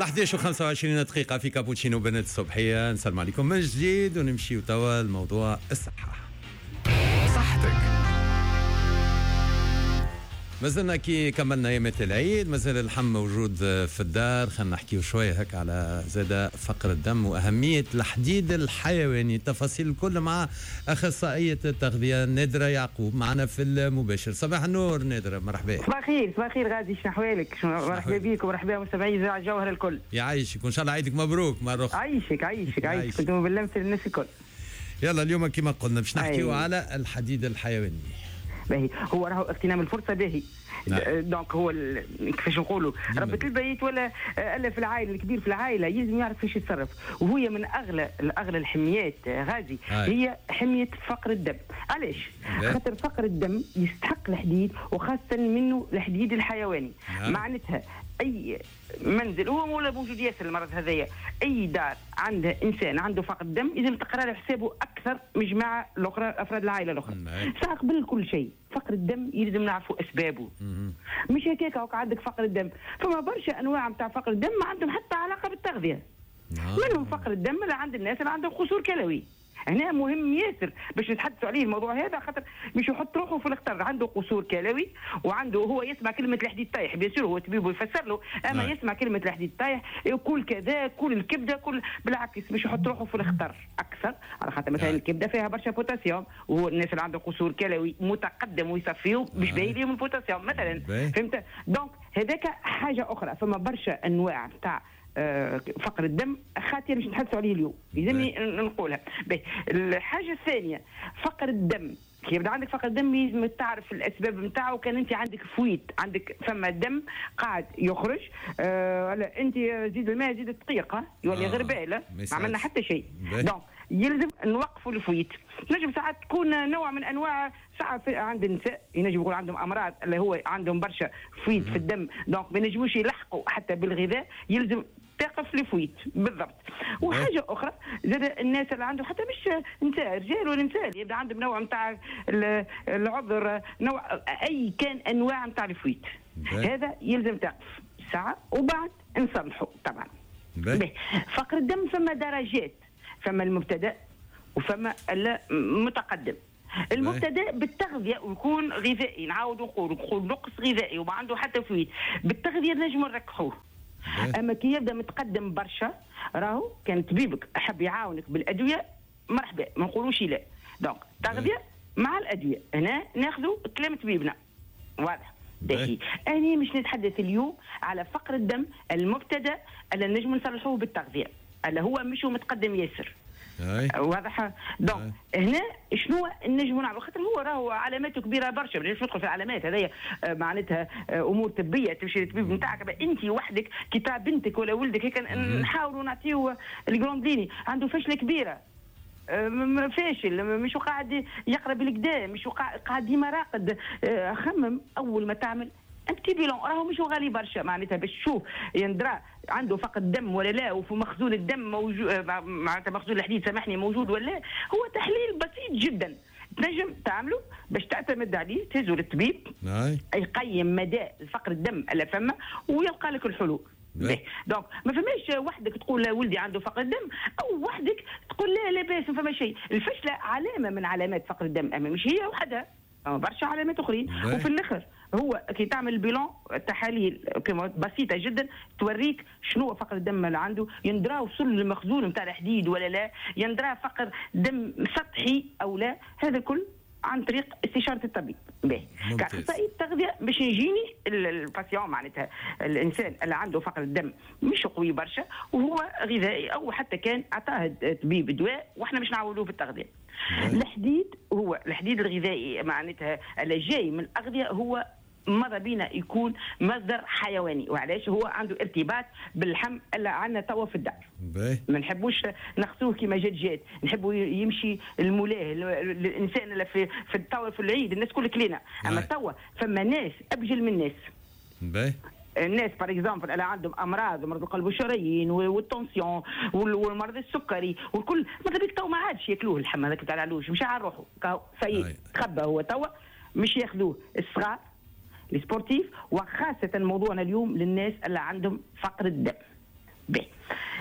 11 و25 دقيقة في كابوتشينو بنات الصبحية. نسلم عليكم من جديد ونمشيو توا لموضوع الصحة. صحتك. مازلنا كي كملنا ايامات العيد، مازال اللحم موجود في الدار. خلينا نحكيو شوية هكا على زاد فقر الدم واهمية الحديد الحيواني، التفاصيل الكل مع اخصائية التغذية نادرة يعقوب معنا في المباشر. صباح النور نادرة، مرحبا. صباح الخير. صباح الخير غازي، شنو احوالك؟ مرحبا بيك ومرحبا بمستمعي اذاعة الجوهرة الكل. يعيشك وان شاء الله عيدك مبروك مرة اخرى. عيشك عيشك عيشك، كنتم باللمس للناس الكل. يلا اليوم كما قلنا باش نحكيو على الحديد الحيواني. باهي، هو راهو اغتنام الفرصة باهي. نعم. donc هو كيفاش نقولوا ربة البيت ولا الا في العائلة، الكبير في العائلة يلزم يعرف كيفاش يتصرف، وهي من اغلى الحميات غازي. هي حمية فقر الدم. علاش؟ خاطر فقر الدم يستحق الحديد، وخاصة منه الحديد الحيواني. نعم. معناتها اي منزل هو ولا موجود ياسر المرض هذايا، اي دار عندها انسان عنده فقر الدم لازم تقرا له حسابه اكثر من جماعة الاخرى، افراد العائلة الاخرى. ساعة قبل كل شيء فقر الدم يلزم نعرفوا اسبابه. مش هكاك هوك عندك فقر الدم، فما برشا انواع نتاع فقر الدم ما عندهم حتى علاقة بالتغذية. منهم فقر الدم اللي عند الناس اللي عندهم قصور كلوي. هنا مهم ياسر باش نتحدثوا عليه الموضوع هذا، خاطر مش يحط روحه في الخطر. عنده قصور كلوي وعنده هو يسمع كلمة الحديد طايح، bien sûr هو طبيب يفسر له، اما يسمع كلمة الحديد طايح يقول كذا، كل الكبده كل، بالعكس مش يحط روحه في الخطر اكثر، على خاطر مثلا الكبده فيها برشا بوتاسيوم، وهو الناس اللي عنده قصور كلوي متقدم ويصفيو مش باهي ليهم البوتاسيوم مثلا. فهمت؟ donc هذاك حاجة اخرى. فما برشا انواع تاع فقر الدم خاطر باش نتحدثوا عليه اليوم، لازمني نقولها. الحاجة الثانية فقر الدم، كي يبدا عندك فقر الدم لازم تعرف الاسباب نتاعو. كان انت عندك fuite، عندك فما دم قاعد يخرج، انت زيد الماء زيد الدقيق يولي غربال، ما عملنا حتى شيء. donc يلزم نوقفوا ال fuite. نجم ساعات تكون نوع من انواع، ساعات عند النساء ينجم يكون عندهم امراض اللي هو عندهم برشا fuite في الدم، donc ما ينجموش يلحقوا حتى بالغذاء، يلزم تقف ال fuite بالضبط. وحاجه اخرى زاد الناس اللي عندهم حتى مش نساء، رجال ولا نساء، يبدا عندهم نوع نتاع العذر، نوع اي كان انواع نتاع ال fuite، هذا يلزم تقف ساعة وبعد نصلحوا طبعا. فقر الدم فما درجات، فما المبتدأ وفما المتقدم. المبتدأ بالتغذية ويكون غذائي، نعاود نقول نقص غذائي وما عنده حتى fuite، بالتغذية نجم نركحوه. أما كي يبدأ متقدم برشا راهو كان طبيبك حب يعاونك بالأدوية مرحبا، ما نقولوش لا. donc تغذية مع الأدوية، هنا ناخذوا كلام طبيبنا واضح. باهي، أنا مش نتحدث اليوم على فقر الدم المبتدأ اللي نجم نصلحوه بالتغذية، اللي هو مش متقدم ياسر. واضح؟ donc هنا شنو نجموا نعملوا؟ خاطر هو راهو علاماته كبيرة برشا، ما نجمش ندخل في العلامات هذيا، معناتها امور طبية تمشي للطبيب نتاعك انت وحدك كي تاع بنتك ولا ولدك هيك نحاولوا نعطيو ال grandes lignes. عنده فشله كبيرة، فاشل، مش قاعد يقرا بالكدا، مش قاعد ديما راقد. خمم اول ما تعمل un petit bilan، راهو مش غالي برشا، معناتها باش تشوف يندرى عنده فقر دم ولا لا، وفي مخزون الدم موجود، معناتها مخزون الحديد سامحني موجود ولا لا. هو تحليل بسيط جدا تنجم تعمله باش تعتمد عليه، تهزه للطبيب يقيم مدى الفقر الدم اللي فما ويلقى لك الحلول. donc ما فماش وحدك تقول ولدي عنده فقر الدم، او وحدك تقول لا لاباس ما فما شيء. الفشله علامة من علامات فقر الدم، اما مش هي وحدها، برشا علامات اخرين. وفي الاخر هو كي تعمل bilan تحاليل بسيطة جدا توريك شنو هو فقر الدم اللي عنده، يندرى وصل للمخزون نتاع الحديد ولا لا، يندرى فقر دم سطحي او لا، هذا كل عن طريق استشاره الطبيب. باهي، كاخصائي التغذية باش يجيني ال patient، معناتها الانسان اللي عنده فقر الدم مش قوي برشا وهو غذائي او حتى كان عطاه طبيب دواء واحنا مش نعولوه بالتغذية. الحديد هو الحديد الغذائي معناتها اللي جاي من الاغذية هو ماذا بينا يكون مصدر حيواني. وعلاش؟ هو عنده ارتباط باللحم اللي عندنا توا في الدار. ما نحبوش نغسوه كيما جات جات، نحبوا يمشي المولاه الانسان اللي في التوا في العيد الناس كل كلينا، اما توا فما ناس ابجل من الناس. الناس par exemple اللي عندهم امراض، مرض القلب والشرايين وال tension والمرض السكري والكل، ماذا بيك تو ما عادش ياكلوه اللحم هذاك تاع العلوش، مش على روحه ça y est تخبى هو توا، مش ياخذوه الصغار les sportifs، وخاصة موضوعنا اليوم للناس اللي عندهم فقر الدم. باهي،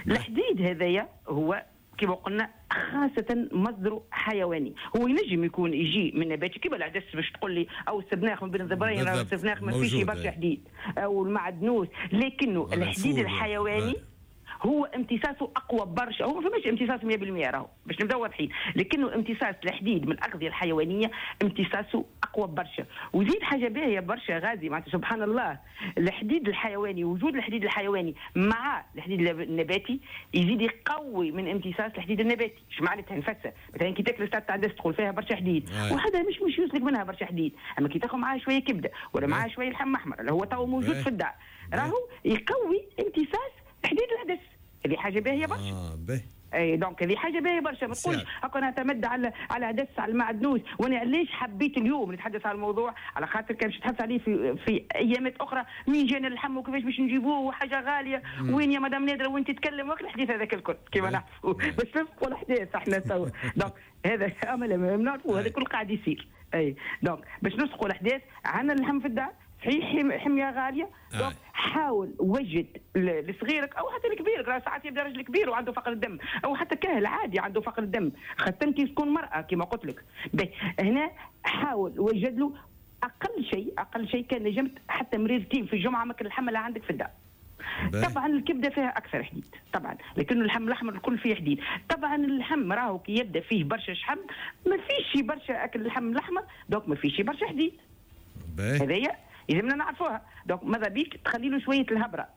الحديد هذايا هو كما قلنا خاصة مصدره حيواني، هو ينجم يكون يجي من نباتي كيما العدس باش تقول لي، او السبناخ من بين الزبرين، راهو السبناخ ما فيش برشا حديد، او المعدنوس، لكنه الحديد الحيواني هو امتصاصه اقوى برشا. هو ما فماش امتصاص 100% راهو باش نبداو واضحين، لكنه امتصاص الحديد من الاغذية الحيوانية امتصاصه اقوى برشا. وزيد حاجة باهيه برشا غازي، معناتها سبحان الله، الحديد الحيواني، وجود الحديد الحيواني مع الحديد النباتي يزيد يقوي من امتصاص الحديد النباتي. اش معناتها؟ نفسها مثلا كي تاكل سلطة عدس تدخل فيها برشا حديد، وهذا مش يوصلك منها برشا حديد، اما كي تاخذ معاه شوية كبده ولا معاه شوية لحم احمر اللي هو تو موجود في الدار، راهو يقوي امتصاص حديد العدس. هذه حاجة باهيه برشا. باهي. اي donc هذه حاجة باهيه برشا، ما تقولش هكا نعتمد على عدس على المعدنوس. وانا علاش حبيت اليوم نتحدث على الموضوع؟ على خاطر كان باش نتحدث عليه في ايامات اخرى، مين جانا اللحم وكيفاش باش نجيبوه وحاجه غالية، وين يا مدام نادرة وين تتكلم، وقت الحديث هذاك الكل كيما نعرفوا باش نسبقوا الاحداث احنا توا. donc هذا امل نعرفوا هذا الكل قاعد يصير. اي donc باش نسبقوا الاحداث، عندنا اللحم في الدار صحيح حمية غالية، donc حاول وجد لصغيرك او حتى لكبيرك، راه ساعات يبدا راجل كبير وعنده فقر الدم، او حتى كاهل عادي عنده فقر الدم، خاصة كي تكون مرأة كما قلت لك. هنا حاول وجد له اقل شيء، اقل شيء كان نجمت حتى مريرتين في الجمعة ماكل اللحم اللي عندك في الدار. طبعا الكبده فيها اكثر حديد طبعا، لكن اللحم الاحمر الكل فيه حديد. طبعا اللحم راهو كي يبدا فيه برشا شحم ما فيش برشا اكل اللحم الاحمر، donc ما فيش برشا حديد. هذايا يلزمنا نعرفوها. donc ماذا بيك تخلي له شوية الهبره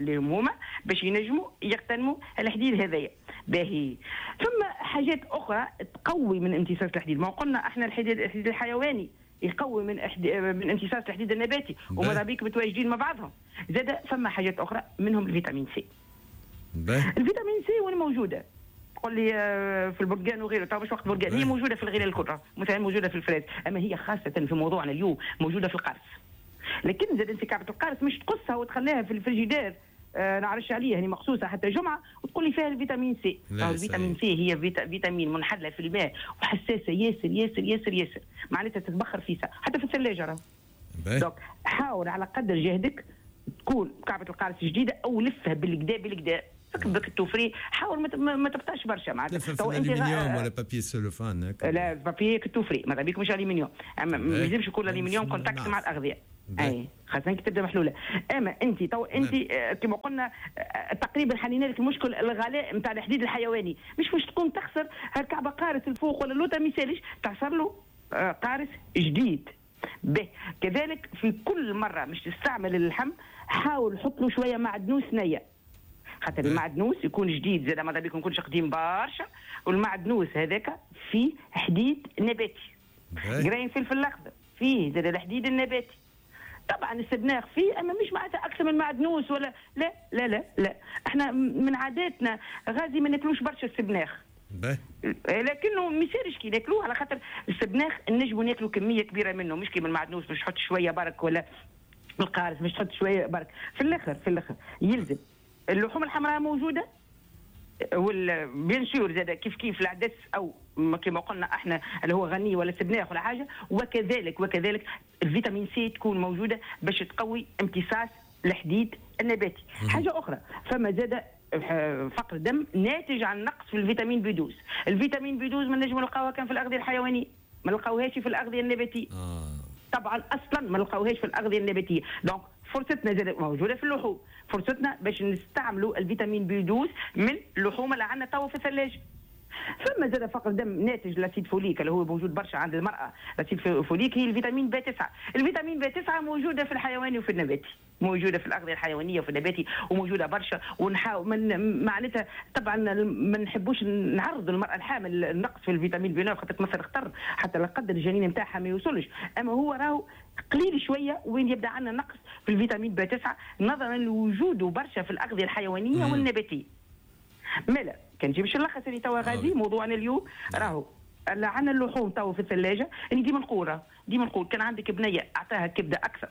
اللي هما باش ينجموا يغتنموا الحديد هذايا. باهي، ثم حاجات اخرى تقوي من امتصاص الحديد. ما قلنا احنا الحديد الحيواني يقوي من امتصاص الحديد النباتي، وماذا بيك متواجدين مع بعضهم. زاد فما حاجات اخرى منهم الفيتامين سي. الفيتامين سي وين موجودة؟ تقول لي في البرتقال وغيره، طبعا مش وقت برتقال، هي موجودة في الغلال الكل، مثلا موجودة في ال fraise، اما هي خاصة في موضوعنا اليوم موجودة في القارص. لكن زاد انت كعبه القارص مش تقصها وتخليها في الفريجيدير، نعرفش عليها يعني مقصوصة حتى جمعه وتقول لي فيها الفيتامين سي. الفيتامين سي هي فيتامين منحله في الماء وحساسه ياسر ياسر ياسر ياسر، معناتها تتبخر في ساعة حتى في الثلاجة راه. donc حاول على قدر جهدك تكون كعبه القارص جديدة او لفها بالكدا بالكدا، بك التوفري، حاول ما تبطاش برشا معناتها. تو انت الومنيوم ولا papier cellophane؟ لا papier coffret ماذا بيك مش الومنيوم، اما ما يلزمش يكون الومنيوم contact مع الاغذية. اي خاصة كي تبدا محلولة. اما انت تو انت كما قلنا تقريبا حلينا لك المشكل الغلاء نتاع الحديد الحيواني، مش تكون تخسر هالكعبه قارص الفوق ولا اللوطه، ما يسالش تعصر له قارص جديد. به كذلك في كل مرة مش تستعمل اللحم حاول حط له شوية معدنوس نيه، خاطر المعدنوس يكون جديد زاد ماذا بيك ما يكونش قديم برشا، والمعدنوس هذاك فيه حديد نباتي. قرين فلفل الاخضر فيه زاد الحديد النباتي. طبعا السبناخ فيه، اما مش معناتها اكثر من المعدنوس ولا لا لا لا لا. احنا من عاداتنا غازي ما ناكلوش برشا السبناخ، لكنه ما يصيرش كي ناكلوه، على خاطر السبناخ نجموا ناكلوا كمية كبيرة منه، مش كيما المعدنوس باش تحط شوية برك ولا القارص باش تحط شوية برك. في الاخر يلزم اللحوم الحمراء موجودة، وال bien sûr زاد كيف كيف العدس او كما قلنا احنا اللي هو غني ولا سبناخ ولا حاجة، وكذلك الفيتامين سي تكون موجودة باش تقوي امتصاص الحديد النباتي. حاجة اخرى فما زاد فقر دم ناتج عن نقص في الفيتامين بي 12. الفيتامين بي 12 ما نجمو نلقاوها كان في الاغذية الحيوانية، ما نلقاوهاش في الاغذية النباتية. طبعا اصلا ما نلقاوهاش في الاغذية النباتية، donc فرصتنا زاد موجودة في اللحوم، فرصتنا باش نستعملوا الفيتامين بي 12 من اللحوم اللي عندنا توا في الثلاجة. ثم زاد فقر دم ناتج l'acide folique اللي هو موجود برشا عند المراة. l'acide folique هي الفيتامين بي 9. الفيتامين بي 9 موجودة في الحيواني وفي النباتي، موجودة في الاغذية الحيوانية وفي النباتي وموجودة برشا. ونحاول من معناتها طبعا ما نحبوش نعرض المراة الحامل النقص في الفيتامين بي 9 خاطر تمثل خطر حتى لا قدر الجنين نتاعها ما يوصلش، اما هو راهو قليل شوية وين يبدا عندنا نقص في الفيتامين بي 9 نظرا لوجوده برشا في الاغذية الحيوانية والنباتيه. مالا كان نجي باش نلخص اللي توا غادي موضوعنا اليوم، راهو عندنا اللحوم توا في الثلاجة. اللي ديما نقول كان عندك بنيه اعطاها كبده اكثر،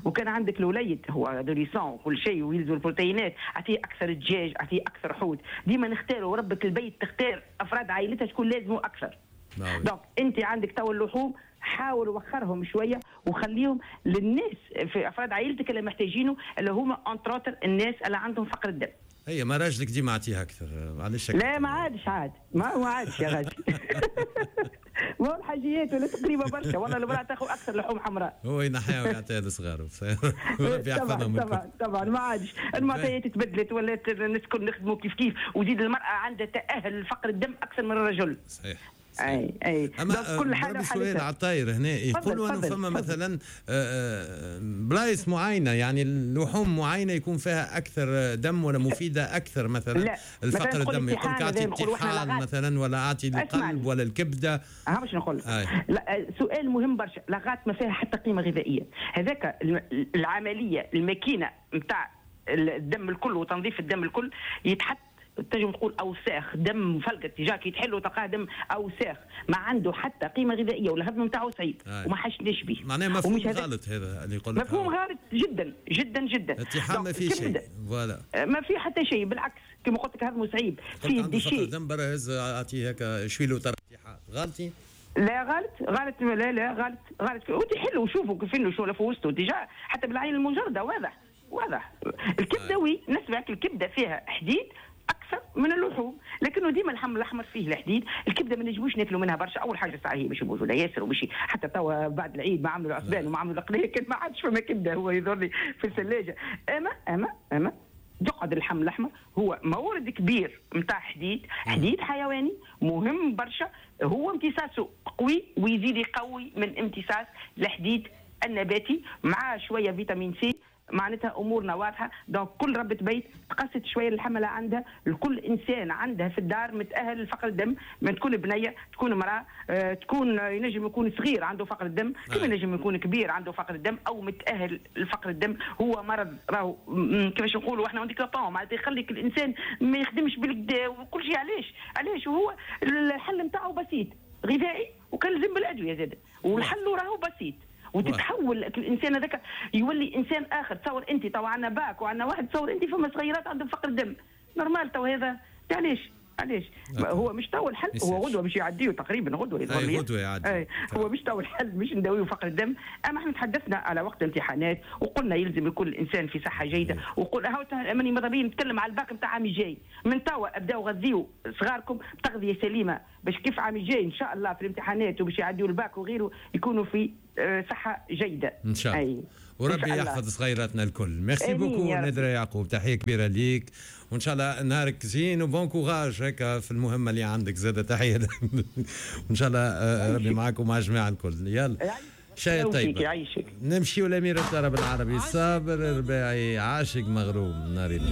وكان عندك الوليد هو adolescent وكل شيء ويلزم البروتينات اعطيه اكثر دجاج، اعطيه اكثر حوت. ديما نختاروا ربة البيت تختار افراد عائلتها شكون لازمه اكثر. donc انت عندك توا اللحوم حاول وخرهم شوية وخليهم للناس في افراد عائلتك اللي محتاجينه، اللي هما entre autres الناس اللي عندهم فقر الدم. هي ما راجلك ديما اعطيها اكثر، علاش؟ لا ما عادش، عاد ما عادش يا غادي. ما هو الحاجيات ولا تقريبا برشا، والله المراة تاخذ اكثر لحوم حمراء. هو ينحيها ويعطيها لصغاره، ربي يحفظهم. طبعا طبعا ما عادش، المعطيات تبدلت، ولات الناس الكل نخدموا كيف كيف، وزيد المراة عندها تاهل لفقر الدم اكثر من الرجل. صحيح. اي اي. اما كل حاجة سؤال على الطاير هنا، يقولوا انه فما مثلا بلايص معينة، يعني لحوم معينة يكون فيها اكثر دم ولا مفيدة اكثر مثلا. لا. الفقر الدم يقول لك اعطي الطحال مثلا، ولا اعطي القلب ولا الكبده. ها باش نقول لا، سؤال مهم برشا. la rate ما فيها حتى قيمة غذائية، هذاك العملية الماكينة نتاع الدم الكل وتنظيف الدم الكل يتحط، تنجم تقول اوساخ دم فلقت déjà كي تحلو تلقاه دم اوساخ، ما عنده حتى قيمة غذائية والهضم نتاعو صعيب وما حاجناش به. معناها مفهوم غلط هذا اللي يقول لك، مفهوم غلط جدا جدا جدا. الطحال ما فيه شيء، voilà، ما فيه حتى شيء، بالعكس كما قلت لك هضمه صعيب، فيه déchets. دم برا هز اعطيه هكا شوي له طرف غلطي. لا غلط غلط، لا لا غلط غلط. وتحلوا وشوفوا كيف شو في وسطه déjà حتى بالعين المجردة واضح واضح. الكبده oui نسمعك، الكبده فيها حديد اكثر من اللحوم، لكنه ديما اللحم الاحمر فيه الحديد. الكبده ما نجموش ناكلوا منها برشا. اول حاجة ساعة هي مش موجودة ياسر، ومشي حتى توا بعد العيد ما عملوا العصبان وما عملوا القليه، كان ما عادش فما كبده، هو يظهر لي في الثلاجة. اما اما اما يقعد اللحم الاحمر هو مورد كبير نتاع حديد، حديد حيواني مهم برشا، هو امتصاصه قوي ويزيد يقوي من امتصاص الحديد النباتي مع شوية vitamine C، معناتها امورنا واضحة. donc كل ربة بيت تقصت شوية اللحم اللي عندها، لكل انسان عندها في الدار متاهل لفقر الدم، ما تكون بنيه، تكون امراة، تكون ينجم يكون صغير عنده فقر الدم، كما ينجم يكون كبير عنده فقر الدم او متاهل لفقر الدم. هو مرض راهو كيفاش نقولوا احنا handicapant، معناتها يخليك الانسان ما يخدمش بالكدا وكل شيء. علاش؟ علاش؟ وهو الحل نتاعو بسيط، غذائي وكان لازم بالادوية زاد، والحل راهو بسيط، وتتحول الانسان هذاك يولي انسان اخر. تصور انت تو عندنا باك وعندنا واحد، تصور انت فما صغيرات عندهم فقر دم normal تو هذا علاش؟ علاش؟ هو مش تو الحل، هو غدوه باش يعديه تقريبا، غدوه يظهر غدوه يعدي. هو مش تو الحل، مش نداويو فقر الدم. اما احنا تحدثنا على وقت الامتحانات وقلنا يلزم يكون الانسان في صحة جيدة، وقلنا هاو ماني ماذا بيا نتكلم على الباك نتاع عام الجاي، من توا ابداو غذيو صغاركم بتغذيه سليمة باش كيف عام الجاي ان شاء الله في الامتحانات وباش يعديو الباك وغيره يكونوا في صحة جيدة ان شاء الله. وربي يحفظ صغيراتنا الكل. merci beaucoup نادرة يعقوب، تحية كبيرة ليك، وان شاء الله نهارك زين و bon courage هكا في المهمة اللي عندك زادة. تحية وان شاء الله ربي معاك ومع الجماعة الكل. يلا شاي طيب يعيشك. نمشيو لأمير الطرب العربي صابر الرباعي، عاشق مغروم ناري.